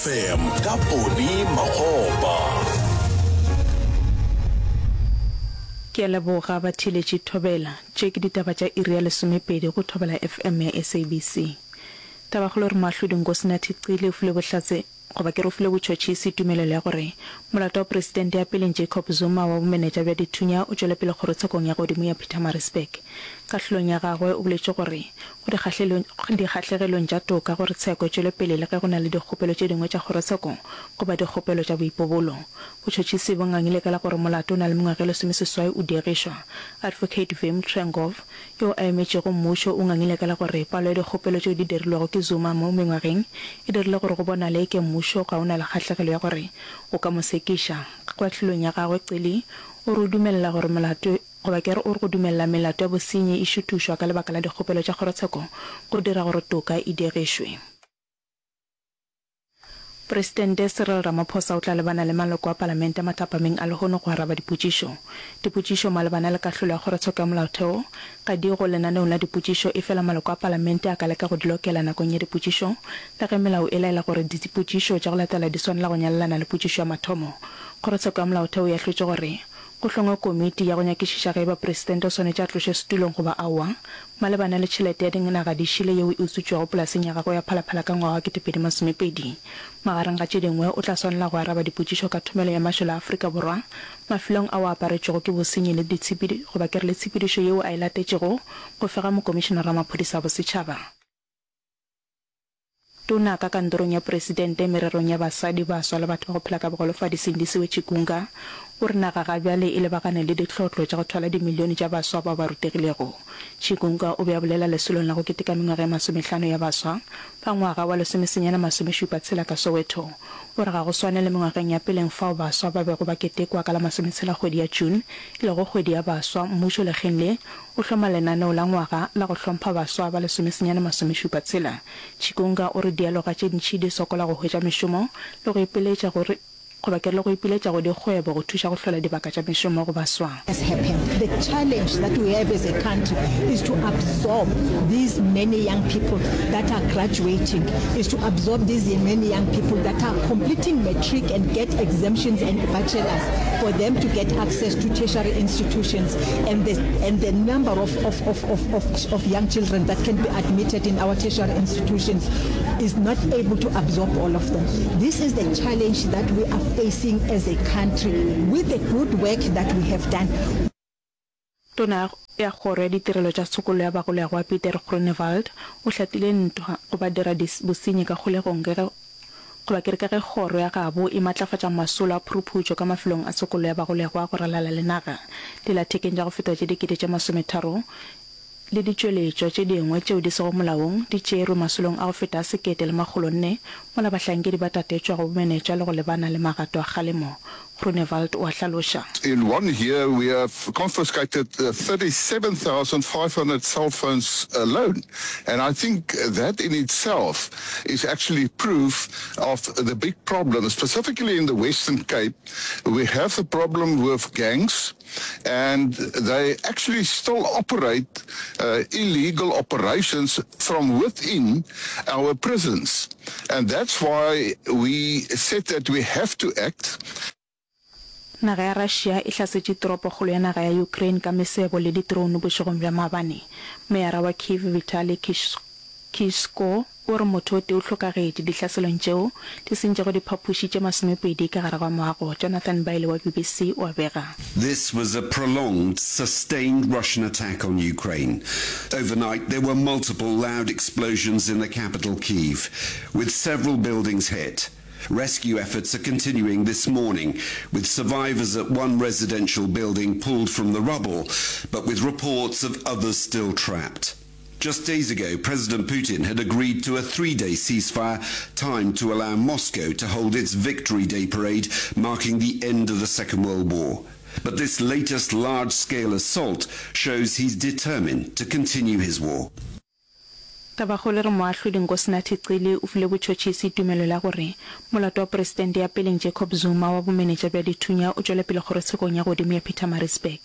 FM ka Poni Makgopa. Ke a leboga batheeletši Thobela. Tše ke ditaba tša iri ya lesomepedi go Thobela FM ya SABC. Tabakgolo e re Moahlodi Nkosinathi Cele o file bohlatse goba ke re o file botšhotšhisi tumelelo ya gore molato wa Presidente ya peleng Jacob Zuma wa bomenetša bja dithunya o tšwele pele kgorotshekong ya godimo ya Pietermaritzburg. Kahlolong ya gagwe o boletše gore go dikgahlegelong tša toka gore tsheko e tšwele pele le ge go na le dikgopelo tše dingwe tša kgorotsheko goba dikgopelo tša boipobolo. Botšhotšhisi bo ngangile ka la gore molato o na le mengwaga e lesomeseswai o diegišwa. Advocate Wim Trengove, yo a emetšego mmušo, o ngangile ka la gore palo ya dikgopelo tšeo di dirilwego ke Zuma mo mengwageng e dirile gore go bonale eke mmušo ga o na le kgahlegelo ya gore o ka mo sekiša. Kahlolong ya gagwe Cele o re o dumelela gore molato Goba ke re o re go dumelela melato ya bosenyi e šuthušwa ka lebaka la dikgopelo tša kgorotsheko go dira gore toka e diegišwe. Presidente Cyril Ramaphosa o tla lebana le maloko a Palamente mathapameng a lehono go araba dipotšišo. Dipotšišo malebana le kahlolo ya kgorotsheko ya molaotheo ga di go lenaneong la dipotšišo efela maloko a Palamente a ka leka go di lokela nakong ya dipotšišo le ge melao e laela gore dipotšišo tša go latela di swanela go nyalelana le potšišo ya mathomo. Kgorotsheko ya molaotheo e ahlotše gore Go hlongwe komiti ya go nyakišiša ge e ba presidente o swanetše a tlošwe setulong goba aowa, malebana le tšhelete ya dinaga di šele yeo e utswitšwego polaseng ya gagwe ya Phalaphala ka ngwaga wa 2020. Magareng ga tše dingwe, o tla swanela go araba dipotšišo ka thomelo ya mašole a Afrika Borwa mafelong ao a aparetšwego ke bosenyi le ditshepedi goba ke re le tshepedišo yeo a e latetšego go fega Mokomišenara wa Maphodisa a Bosetšhaba. Tona ka kantorong ya Presidente mererong ya basadi, baswa le batho ba go phela ka bogolofadi Sindisiwe Chikunga o re naga ga bjale e lebagane le ditlhotlo tša go thwala dimilione tša baswa bao ba rutegilego. Chikunga o be a bolela lesolong la go keteka mengwaga e masomehlano ya baswa ba ngwaga wa lesomesenyane masomešupa tshela ka Soweto. O re ga go swane le mengwageng ya peleng fao baswa ba bego ba ketekwa ka la masometshela kgwedi ya June e lego kgwedi ya baswa, mmušo lekgeng le o hloma lenaneo la ngwaga la go hlompha baswa ba lesomesenyane masomešupa tshela. Chikunga o re dialoga tše ntši di sokola go hwetša mešomo le go ipiletša go goba ke re le go ipiletša go dikgwebo go thuša go hlola dibaka tša mešomo go baswa. Has happened. The challenge that we have as a country is to absorb these many young people that are graduating, is to absorb these many young people that are completing matric and get exemptions and bachelors for them to get access to tertiary institutions and the, and the number of, of, of, of, of, of young children that can be admitted in our tertiary institutions is not able to absorb all of them. This is the challenge that we are facing as a country with the good work that we have done. Tona ya Kgoro ya Ditirelo tša Tshokollo ya Bagolegwa Pieter Groenewald o hlatile ntwa go badira bosenyi ka kgolegong ka ge goba ke re ka ge kgoro ya gabo e matlafatša masolo a phuruphutšo ka mafelong a tshokollo ya bagolegwa go ralala le naga. Dillathekeng tša go feta tše 30,000 le ditšweletšwa tše dingwe tšeo di sego molaong di tšerwe masolong a go feta a 1,400 mola bahlankedi ba tatetšwa go bomenetša le go lebana le magato a kgalemo, Groenewald o a hlaloša. In one year we have confiscated 37,500 cell phones alone and I think that in itself is actually proof of the big problem. Specifically in the Western Cape we have the problem with gangs and they actually still operate illegal operations from within our prisons and that's why we said that we have to act. Naga ya Russia e hlasetše toropokgolo ya naga ya Ukraine ka mesebo le di-drone bošegong bja maabane. Meyara wa Kyiv Vitali Klitschko o re motho o tee o hlokagetše dihlaselong tšeo di sentšego diphapoši tše masomepedi ka gare ga moago. Jonathan Baile wa BBC o a bega. This was a prolonged, sustained Russian attack on Ukraine. Overnight, there were multiple loud explosions in the capital, Kyiv, with several buildings hit. Rescue efforts are continuing this morning, with survivors at one residential building pulled from the rubble, but with reports of others still trapped. Just days ago, President Putin had agreed to a three-day ceasefire, timed to allow Moscow to hold its Victory Day parade marking the end of the Second World War. But this latest large-scale assault shows he's determined to continue his war. Tabakgolo e re Moahlodi Nkosinathi Cele o file botšhotšhisi tumelelo ya gore molato wa Presidente ya peleng Jacob Zuma wa bomenetša bja dithunya o tšwele pele kgorotshekong ya godimo ya Pietermaritzburg.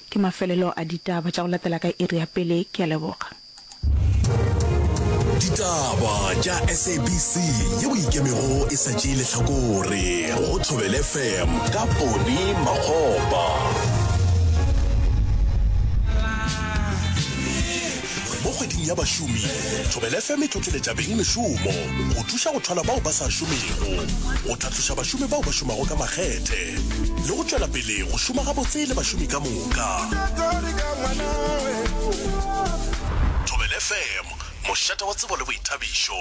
Ke mafelelo a ditaba tša go latela ka iri ya pele. Ke a leboga. Ditaba tša SABC yeo e ikemego e sa tšee lehlakore go Thobela FM ka Poni Makgopa. Mo kgweding ya bašomi, Thobela FM e tlotleletša beng mešomo go thuša go thwala bao ba sa šomego, go tlhatloša bašomi bao ba šomago ka makgethe le go tšwela pele go šoma gabotse le bašomi ka moka. Thobela FM, mošate wa tsebo le boithabišo.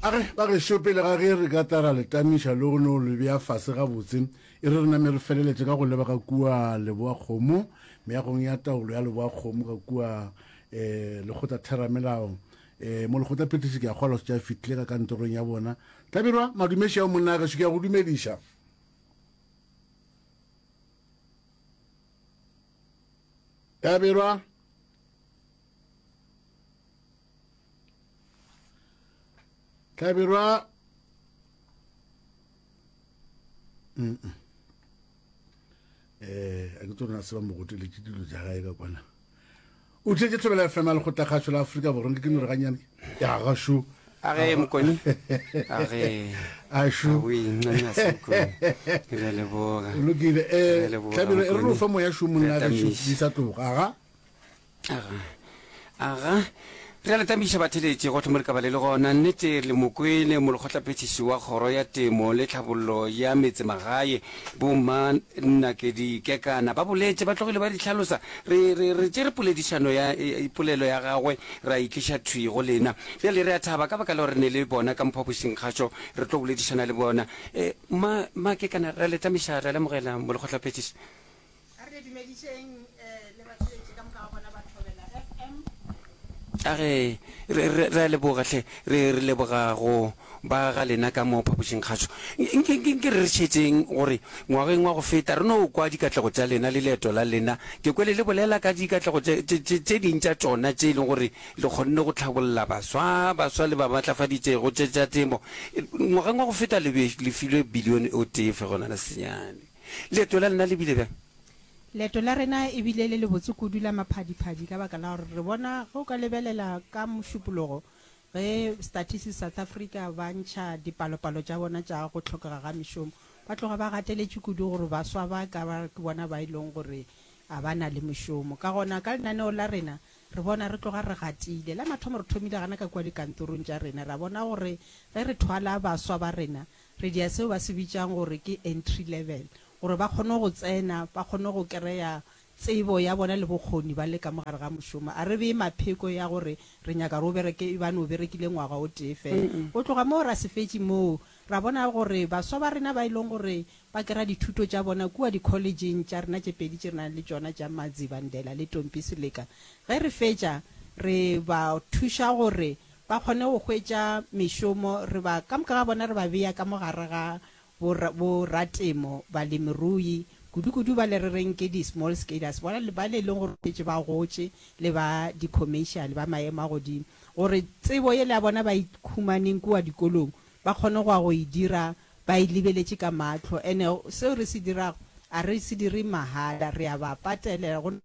A re, Bagešo, pele ga ge re ka tla ra le tamiša le go no le bea fase gabotse, e re re name re feleletše ka go leba ka kua Leboakgomo, meagong ya taolo ya Leboakgomo ka kua um Lekgotlatheramelao. Um Molekgotlaphethiši ke a kgolwa šetše a fihlile ka kantorong ya bona. Hlabirwa, madumeši ao monna gešo, ke a go dumediša. Hlabirwa. Hlabirwa. Mm -mm. Eh, a ke tsona se ba mo goteletše dilo tša gae ka kwana. O tletše Thobela FM ya Lekgotlakgašo la Afrika Borwa ke no re ganyane. Ya gašo. A ge mokoni. A ge. Ašu. O incanca se mokoni. Re leboga. O lokile. Eh, Hlabirwa e re no fa moya šo monna gešo di sa tloga. Aga. Aga. Aga. Re a le tamiša batheletši gohle mo le ka ba le le gona. Nnete le mo kwele molekgotlaphethiši wa Kgoro ya Temo le Tlhabollo ya Metsemagae, Bo Mma Nakedi Kekana, ba boletše, ba tlogile ba di hlalosa. Re, re, re tšere poledišano ya, polelo ya gagwe ra e tliša thwi go lena. Bjale re a thaba ka baka la gore re ne le bona ka mo phapošingkgašo, re tlo boledišana le bona. E, Mma, Mma Kekana, re a le tamiša, re a le amogela molekgotlaphethiši. A re le dumedišeng le batheeletši ka moka ga bona ba Thobela FM. A re, re, re, re a leboga hle, re, re leboga go ba ga lena ka mo phapošingkgašo. Nke, nke, nke re re šetšeng gore ngwageng wa go feta re no kwa dikatlego tša lena le leeto la lena. Ke kwele le bolela ka dikatlego tše, tše, tše, tše ding tša tšona tše e leng gore le kgonne go tlhabolla baswa, baswa le ba matlafaditšego tše tša temo. Ngwageng wa go feta le be le filwe bilione o tee fegelwana senyane. Leeto la lena le bile bjang? Leeto la rena e bile le lebotse kudu la maphadiphadi ka baka la gore re bona ge o ka lebelela ka Mošupologo ge Statistics South Africa ba ntšha dipalopalo tša bona tša go hlokega ga mešomo, ba tloga ba gateletše kudu gore baswa ba ka ba ke bona ba e leng gore a ba na le mešomo. Ka gona ka lenaneo la rena re bona re tloga re gatile. La mathomo re thomile gana ka kua dikantorong tša rena ra bona gore ge re thwala baswa ba rena Re dia seo ba se bitšang gore ke entry level, gore ba kgone go tsena, ba kgone go kereya tsebo ya bona le bokgoni ba le ka mo gare ga mošomo. A re bee mapheko ya gore re nyaka gore o bereke ebane o berekile ngwaga o tee fela. Go tloga moo ra se fetše moo, ra bona gore baswa ba rena ba e leng gore ba kera dithuto tša bona kua di-collegeng tša rena tše pedi tše re nang le tšona tša Madzivhandlela le Tompi Seleka, ge re fetša re ba thuša gore ba kgone go hwetša mešomo, re ba, ka moka ga bona re ba bea ka mo gare ga bo, bo ratemo, balemirui, kudu-kudu bale re reng ke di-small scalers, bona bale e leng gore šetše ba gotše, le ba di-commercial, ba maemo a godimo, gore tsebo yela ya bona ba e humaneng kua dikolong, ba kgone go ya go e dira ba e lebeletše ka mahlo. Ene seo re se dirago, a re se dire mahala, re a ba patelela, go.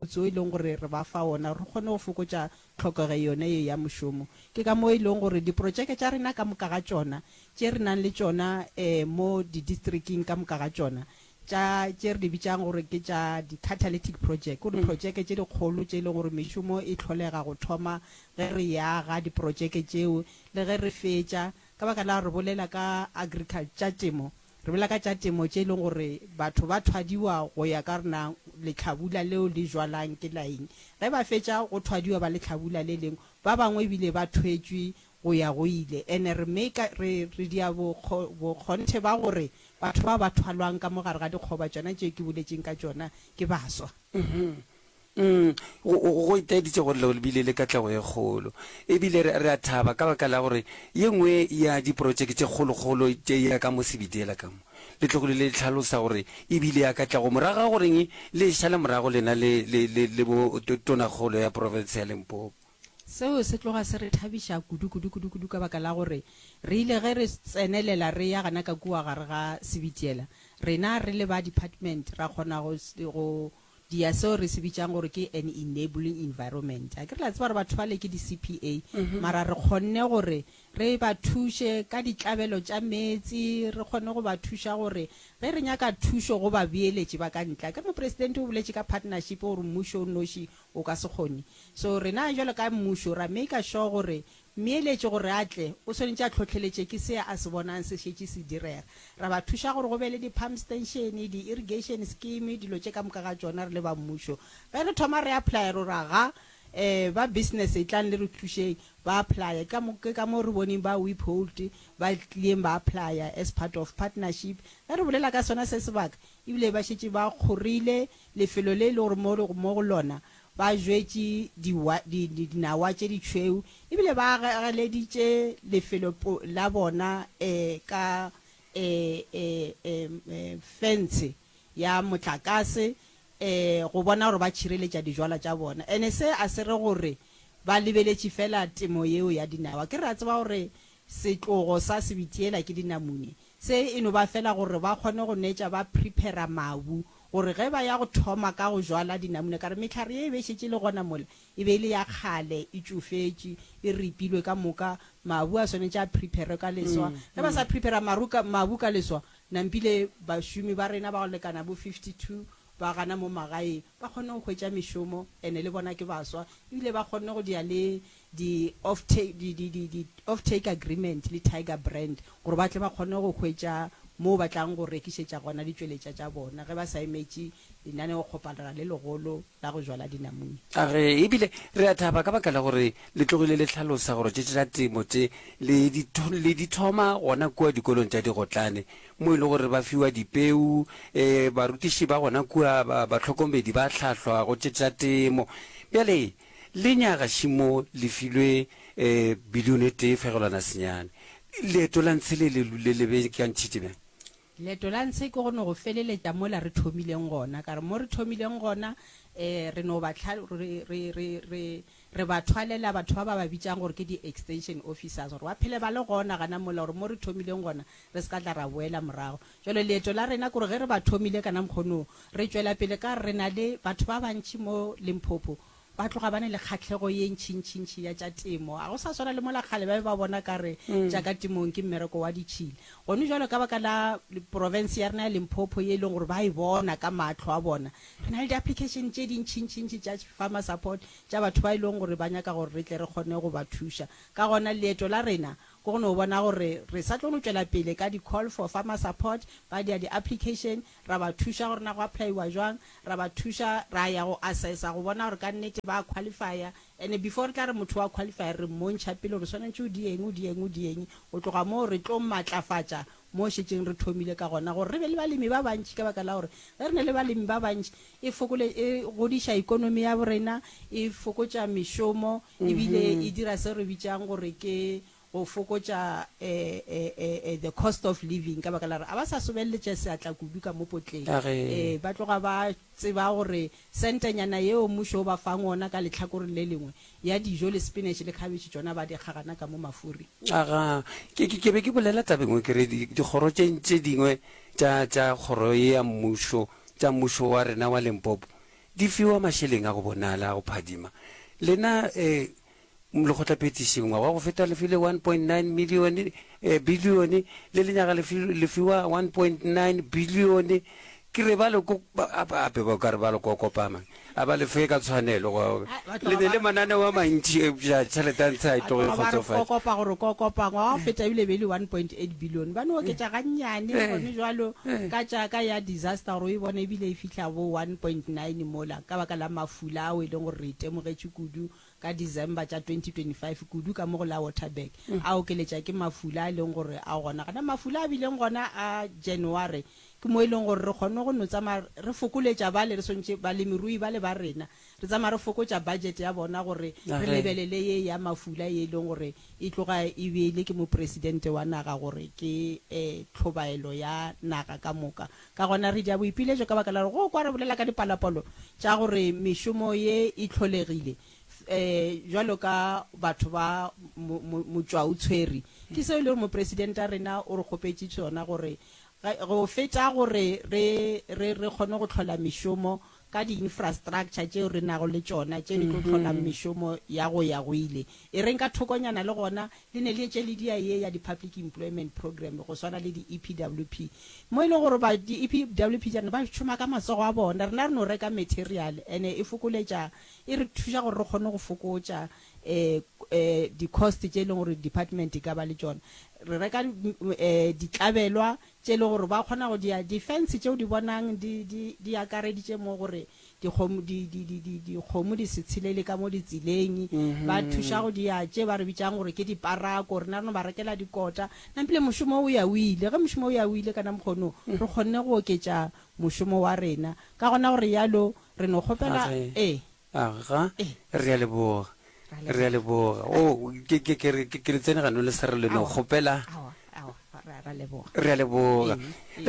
Moputso o e leng gore re ba fa wona re kgone go fokotša tlhokego yone ye ya mošomo. Ke ka moo e leng gore diprotšeke tša rena ka moka ga tšona tše re nang le tšona mo didistriking ka moka ga tšona tša tše re di bitšang gore ke tša di-catalytic project, ke gore diprotšeke tše dikgolo tše e leng gore mešomo e hlolega go thoma ge re e aga diprotšeke tšeo le ge re fetša, ka baka la gore re bolela ka agriculture, tša temo, Re bolela ka tša temo tše e leng gore batho ba thwadiwa go ya ka gore na lehlabula leo le jwalang ke la eng. Ge ba fetša go thwadiwa ba lehlabula le lengwe, ba bangwe ebile ba thwetšwe go ya go ile. Ene re make re re dia bokgo bokgonthe ba gore batho bao ba thwalwang ka mo gare ga dikgoba tšona tše ke boletšeng ka tšona ke baswa. Mm, go, go, go itaeditše gore le bile le katlego e kgolo. E bile re, re a thaba ka baka la gore ye nngwe ya diprotšeke tše kgolokgolo tše ya ka mo Sebitiela ka mo, le tlogile le hlalosa gore e bile ya katlego morago ga goreng le e šale morago lena le, le, le, le bo to, tonakgolo ya profense ya Limpopo. Seo se tloga se re thabiša kudu, kudu, kudu, kudu ka baka la gore re ile ge re tsenelela re ya gana ka kua gare ga Sebitiela, rena re le ba department ra kgona go, go. Dia seo re se bitšang gore ke an enabling environment. Akere la tseba gore batho bale ke di-C_P_A, mara re kgonne gore re ba thuše ka ditlabelo tša meetse, re kgone go ba thuša gore ge re nyaka thušo go babeeletši ba ka ntle. Akere Mopresidente o boletše ka partnership gore mmušo o nnoši o ka se kgone. So rena bjalo ka mmušo ra maker sure gore Mmeeletši gore a tle, o swanetše a hlohleletše ke se a se bonang se šetše se direga. Ra ba thuša gore go be le di-pump station, di-irrigation scheme, dilo tše ka moka ga tšona re le ba mmušo. Ge re thoma re applya re ra ga um ba business etlang le re thušeng, ba applya. Ke ka mo, ke ka mo re boneng ba Wiphold ba tlileng ba applya as part of partnership. Ge re bolela ka sona se sebaka, ebile ba šetše ba kgorile lefelo le e le gore mo, mo go lona Ba jwetše diwa, di, di, dinawa tše ditšhweu, ebile ba ageleditše lefelo po, la bona e, ka e, e, e, e, fentshe ya motlakase, e, go bona gore ba tšhireletša dijwalwa tša bona. Ene se a se re gore ba lebeletše feela temo yeo ya dinawa. Ke re a tseba gore setlogo sa sebitiela ke dinamune. Se e no ba feela gore ba kgone go netša ba prepara mabu gore ge ba ya go thoma ka go jwala dinamune, ka re mehlare ye e be e šetše e le gona mola, e be e le ya kgale, e tšofetše, e ripilwe ka moka, mabu a swanetše a prepare ka leswa. Ge ba sa prepara maru ka, mabu ka leswa, nampile bašomi ba rena ba go lekana bo 52 ba gana mo magaeng ba kgonne go hwetša mešomo, ene le bona ke baswa, ebile ba kgonne go dia le di off take, di, di, di, di off take agreement le Tiger Brand gore ba tle ba kgone go hwetša moo ba tlang go rekišetša gona ditšweletša tša bona ge ba sa emetše lenaneokgoparara le legolo la go jwala dinamune. A re, Ebile re a thaba ka baka la gore le tlogile le hlalosa gore tše tša temo tše le di, le di thoma gona kua dikolong tša digotlane mo e le gore ba fiwa dipeu, e, barutiši ba gona kua, ba, bahlokomedi ba hlahlwa go tše tša temo. Bjale, Lenyaga šimo le filwe bilione e tee fegelwana senyane. Leeto la ntshe le le le beakantšhitše bjang? Leeto la ntshe ke go no go feleletša mola re thomileng gona. Ka re mo re thomileng gona, re no ba hla, re, re, re, re, re ba thwalela batho ba ba ba bitšang gore ke di-extension officers gore ba phele ba le gona gana mola gore mo re thomileng gona re se ka tla ra boela morago. Bjale leeto la rena ke gore ge re ba thomile ka namkgonong, re tšwela pele ka re na le batho ba bantši mo Limpopo ba tloga ba ne le kgahlego ye ntšintšintši ya tša temo. Ga go sa swana le mola kgale ba be ba bona ka re tša ka temong ke mmereko wa ditšhila. Gone bjalo ka baka la profense ya rena ya Limpopo ye e leng gore ba e bona ka mahlo a bona, re na le di-application tše dintšintšintši tša farmer support tša batho ba e leng gore ba nyaka gore re tle re kgone go ba thuša. Ka gona leeto la rena Ke go no bona gore re sa tlo no tšwela pele ka di call for farmer support, ba dia di application, ra ba thuša gore na go applaiwa jwang, ra ba thuša, ra ya go assessa go bona gore ka nnete ba qualifya, and before re tla re motho wa qualifya re mmontšha pele gore swanetše o die eng, o die eng, o die eng, go tloga moo re tlo matlafatša mo šetšeng re thomile ka gona gore re be le balemi ba bantši ka baka la gore ge re na le balemi ba bantši e fokole e godiša ikonomi ya borena, e fokotša mešomo ebile e dira se re bitšang gore ke go fokotša the cost of living ka baka la gore a ba sa sobeleletša seatla kudu ka mo potleng. Ba tloga ba tseba gore sentenyana yeo mmušo o ba fang ona ka lehlakoreng le lengwe ya dijo le spinach le khabetšhe tšona ba di kgagana ka mo mafuri. Aga, ke, ke, ke be ke bolela tabeng nngwe ke re di, dikgoro tše, tše dingwe tša, tša kgoro ye ya mmušo, tša mmušo wa rena wa Limpopo, di fiwa mašeleng a go bonala, a go phadima. Lena, eh, Lekgotlaphethiši, ngwaga wa go feta le file 1.9 milione, eh, bilione, le lenyaga le fi, le fiwa 1.9 bilione. Ke re ba le ko, ba, a, ape ba ka re ba le kokopa man. A ba le fe ka tshwanelo. Go, Ai, ba le tloga ne ba le re, mananeo a mantši, eupša tšhelete ya ntshe a e ba tloge e tloga ba re kgotsofatše. kokopa gore kokopa. Ngwaga wa go feta ebile e be e le 1.8 bilione. Ba no oketša gannyane Eh, gone jwalo eh. ka tša ka ya disaster gore o e bone ebile e fihla bo 1.9 mola ka baka la mafula ao e leng gore re itemogetše kudu ka December tša 2025 kudu ka mo go la Waterberg, a okeletša ke mafula a e leng gore a gona gona. Mafula a bileng gona a January ke mo e leng gore re kgonne go no tsamaya re fokoletša bale re swantše balemirui bale ba rena, re tsamaya re fokotša budget ya bona gore re lebelele ye ya mafula ye e leng gore e tloga e beile ke mopresidente wa naga gore ke tlhobaelo ya naga ka moka. Ka gona re dia boipiletšo ka baka la gore go kwa re bolela ka dipalopalo tša gore mešomo ye e hlolegile bjalo ka batho ba motšwaotshwere. Ke seo e le gore mopresidente a rena o re kgopetše sona gore go feta gore re, re, re kgone go hlola mešomo. ka di-infrastructure tšeo re nago le tšona tše di tlo hlolang mešomo ya go ya go ile. E reng ka thokonyana le gona le ne le etše le dia ye ya di-public employment programme go swana le di-EPWP mo e leng gore ba di-EPWP tša rena ba šoma ka matsogo a bona, rena re no reka material ene e fokoletša e re thuša gore re kgone go fokotša um di-cost tše e leng gore department e ka ba le tšona. Re reka um ditlabelwa tše e leng gore ba kgona go dia di-fence tše o di bonang di, di, di akareditše mo gore dikgomo, di, di, di, di, dikgomo di se tshelele ka mo ditseleng. Ba thuša go dia tše ba re bitšang gore ke diparako, rena re no ba rekela dikota. Nampile mošomo o ya o ile. Ge mošomo o ya o ile ka namkgono, re kgonne go oketša mošomo wa rena. Ka gona go realo re no kgopela, ee. Aga, re a leboga. Re a leboga. Oh, ke, ke, ke, ke, ke le tsene gano le sa re le no kgopela. Re a leboga. Re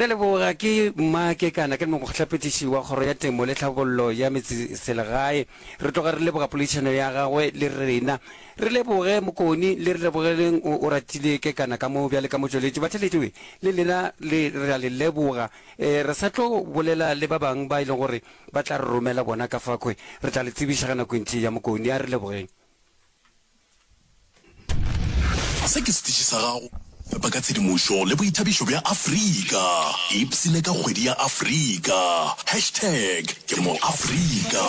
a leboga. Ke mma Kekana, ke mokgohlapetiši wa Kgoro ya Temo le Tlhabollo ya Metseselegae. Re tloga re leboga poledišano ya gagwe le rena. Re leboge Mokoni le re lebogeleng o, o ratile Kekana ka mo bjale ka motšweletši. Batheeletši we, le lena le, re a le leboga. E, re sa tlo bolela le ba bang ba e leng gore Ba tla re romela bona ka fa kwe. Re tla le tsebiša ge nako e ntši e ya Mokoni. A re lebogeng. Se ke setiši sa gago fepa ka tshedimošo le boithabišo bja Afrika. Ipshine ka kgwedi ya Afrika. Hashtag ke mo Afrika.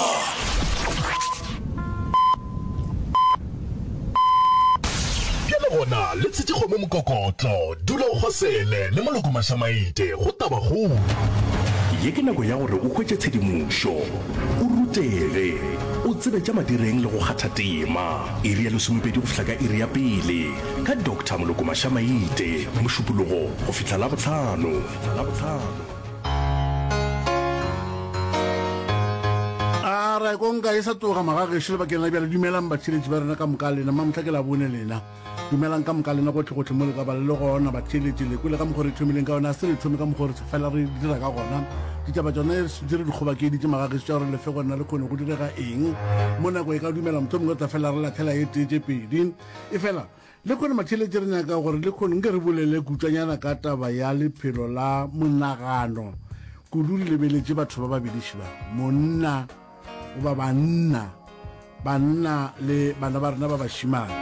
Bjale gona le tshetše kgomo mokokotlo, dula o kgosele le moloko mašamaite go tabakgolo. Ye ke nako ya gore o hwetše tshedimošo, o rutege, o tsebe tša madireng le go kgatha tema. Iri ya lesomepedi go fihla ka iri ya pele ka Doctor Moloko Mašamaite, Mošupologo go fihla Labohlano. A ra konka e sa tloga magagešo lebakeng la bjale. Dumelang batheeletši ba rena ka moka lena. Mamohla ke Labone lena. Dumelang ka moka lena gohle-gohle mo le ka ba le le gona batheeletši. Le kwele ka mokgwa re thomileng ka yona, a se re thome ka mokgwa re fela re dira ka gona. Ditaba tšona di re di kgobakeditše magagešo tša gore lefe gona le kgone go direga eng. Mo nako e ka dumela mohlomongwe re tla fela re lathela e tee tše pedi. Efela Lehono matheeletši re nyaka gore lehono nke re bolele kutšwanyana ka taba ya lephelo la monagano, kudu re lebeletše batho ba babediši ba, monna goba banna, banna le bana ba rena ba bašimane.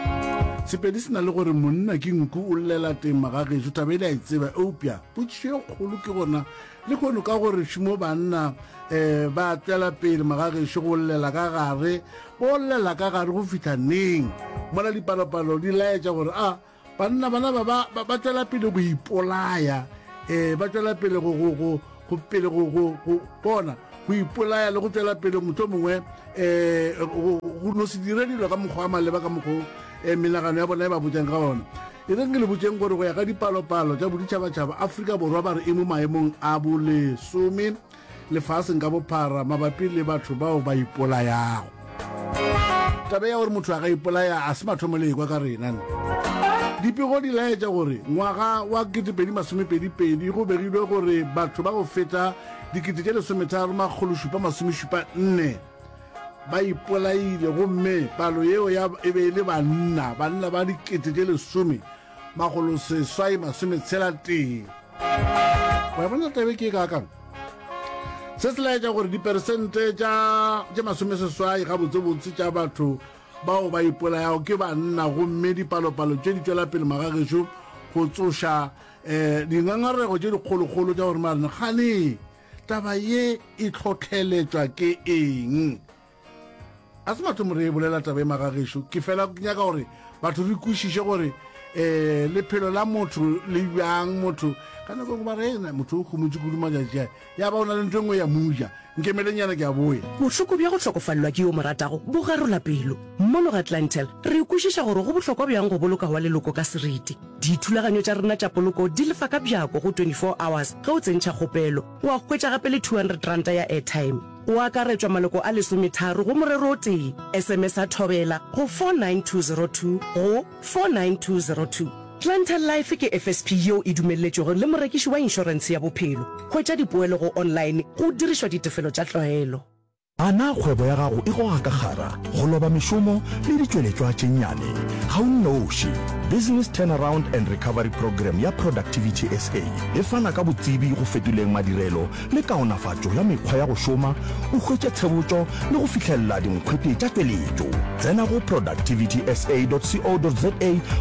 Sepedi se na le gore monna ke nku o llela teng magagešo, taba e le a e tseba, eupša potšišo e kgolo ke gona lehono ka gore šumo banna um ba tšwela pele magagešo go llela ka gare Bo llela ka gare go fihla neng mola dipalopalo di laetša gore a banna bana ba ba ba tšwela pele go ipolaya um ba tšwela pele go go go go pele go go go bona go ipolaya le go tšwela pele mohlomongwe um go no se dire dilo ka mokgwa wa maleba ka mokgwa um menagano ya bona e ba botšang ka ona e reng ke le botšeng gore go ya ka dipalopalo tša boditšhabatšhaba Afrika Borwa ba re e mo maemong a bolesome lefaseng ka bophara mabapi le batho bao ba ipolayago. Taba ya gore motho a ka ipolaya a se mathomo le ekwa ka rena. Dipego di laetša gore ngwaga wa 2022 go begilwe gore batho ba go feta 3774 ba ipolaile gomme palo yeo ya e be e le banna, banna ba 10861. Wa bona tabe ke e kaakang? Se se laetša gore diperesente tša tše masomeseswai gabotsebotse tša batho bao ba ipolayago ke banna gomme dipalopalo tše di tšwela pele magagešo go tsoša um dingangarego tše dikgolokgolo tša gore marena gane taba ye e tlhotlheletšwa ke eng A se mathomo re e bolela taba e magagešo, ke fela ke nyaka gore batho re kwešiše gore um lephelo la motho le bjang. Motho ka nako engwe ba re ena motho o humotše kudu matšatši a, ya ba o na le ntho e nngwe ya muja. Nkemelenyana ke a boya. Bohloko bja go hlokofalelwa ke yo o mo ratago bo garola pelo. Mono ga Clientele, re kwešiša gore go bohlokwa bjang go boloka wa leloko ka seriti. Dithulaganyo tša rena tša poloko di lefa ka bjako go 24 hours ge o tsentšha kgopelo. Wa hwetša gape le R200 ya airtime. Go akaretšwa maloko a lesometharo go morero o tee. SMS-a Thobela go 49202 go 49202. Clientele Life ke FSP yeo e dumelletšwego le morekiši wa inšorentshe ya bophelo. Hwetša dipoelo go online go dirišwa ditefelo tša tlwaelo. A na kgwebo ya gago e goga ka kgara, go loba mešomo le ditšweletšwa tše nnyane? Ga o nnoši. Business Turnaround and Recovery Programme ya Productivity SA e fana ka botsebi go fetoleng madirelo le kaonafatšo ya mekgwa ya go šoma, o hwetše tshebotšo le go fihlelela dinkgwete tša tšweletšo. Tsena go productivitysa.co.za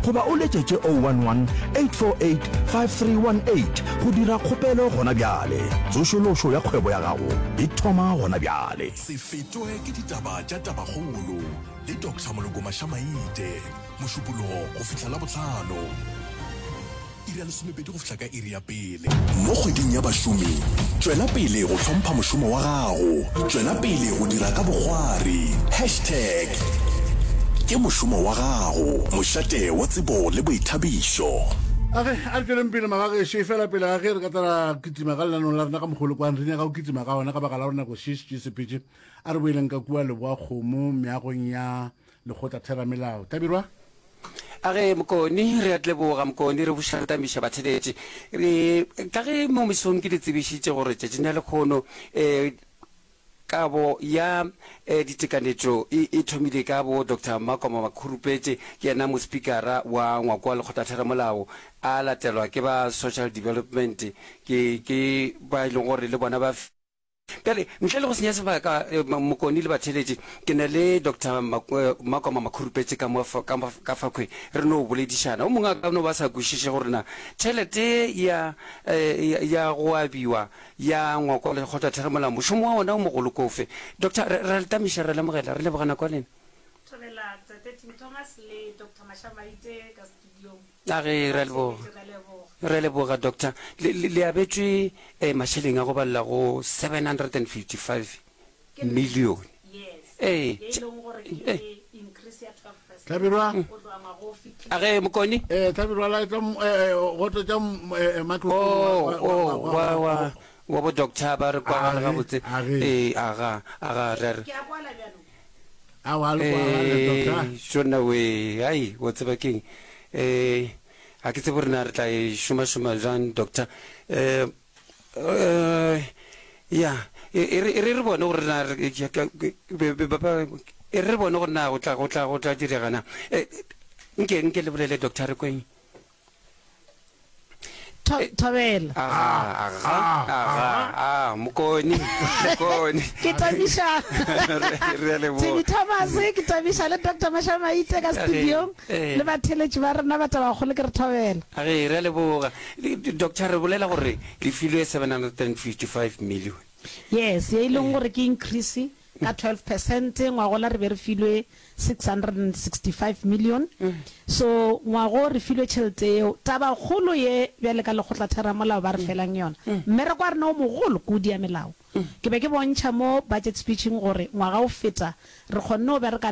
goba o letšetše 011 848 5318 go dira kgopelo gona bjale. Tsošološo ya kgwebo ya gago e thoma gona bjale. Se fetwe ke ditaba tša tabakgolo le Doctor Moloko Mashamaite, Mošupologo go fihla Labohlano, iri ya lesomepedi go fihla ka iri ya pele. Mo kgweding ya bašomi, tšwela pele go hlompha mošomo wa gago, tšwela pele go dira ka bokgwari. Hashtag ke mošomo wa gago, mošate wa tsebo le boithabišo. A ge, a re tšweleng pele magagešo, efela pele ga ge re ka tla ra kitima ka lenaneong la rena ka mokgwa o le kwang re nyaka go kitima ka gona ka baka la gore nako še šetše e sepetše, a re boeleng ka kua Leboa-kgomo meagong ya Lekgotlatheramelao. Hlabirwa? A ge, Mokoni, re a leboga, Mokoni, re buša re tamiša batheeletši. Re, ka ge mo mesong ke le tsebišitše gore tšatšing la lekgono, eh, kabo ya, eh, ditekanetšo e, e thomile ka bo Doctor Makoma Makhurupetše, ke yena mospikara wa ngwako wa Lekgotlatheramolao, a latelwa ke ba Social Development, ke, ke ba e leng gore le bona ba. Bjale, ntle le go senya sebaka, Mokoni le batheeletši, ke na le Doctor Makoma Makhurupetše ka mo, ka, ka fakhwe, re no boledišana. O mongwe a ka no ba sa kwešiše gore na tšhelete ya, ya, ya go abiwa ya ngwako wa lekgotlatheramolao, mošomo wa ona o mogolo ke ofe. Doctor, re, re a le tamiša, re a le amogela, re leboga nako ya lena. Thobela Tate Tim Thomas le Doctor Mashamaite ka studiong. A re, Re a leboga. Re a leboga, Doctor. Le, le, le abetšwe eh, mašeleng a go balela go 755 million. Ee. Eh. Hlabirwa. A ge, Mokoni? Eh, Hlabirwa, laetša, eh, eh, go tletša, eh, eh, microphone Oh, wa, wa, oh, wa, wa, wa, wa, wa bo doctor ba re kwagala Age, gabotse. age. Ee, aga, aga, re a re. Ke a kwala bjalo. Aowa, le kwagale, doctor. Ee, tšona we, ai, wa tseba keng? Eh, ga ke tsebe gore na re tla e šomašoma bjang, doctor. Eh, eh, ya, e e re e re re bone gore na re ke- ke- ke- be- be- ba- ba- e re re bone gore na go tla go tla go tla direga na. Eh, nke nke le bolele, doctor, re kweng. Thobela. Aga, aga, aga, a, Mokoni, Mokoni. Ke tamiša. Re a leboga. Timmy Thomas, ke tamiša le Doctor Mashamaite ka studiong le batheeletši ba rena ba Tabakgolo ke re thobela. Age, re a leboga. Doctor, re bolela gore le filwe 755 million. Yes, ye e leng gore ke increase ka 12 percent, ngwagola re be re filwe 665 million. So ngwago re filwe tšhelete yeo. Tabakgolo ye bjale ka lekgotlatheramolao ba re felang yona, mmereko wa rena o mogolo ke o dia melao. Ke be ke bontšha mo budget speech-ing gore ngwaga o feta re kgonne go bereka le.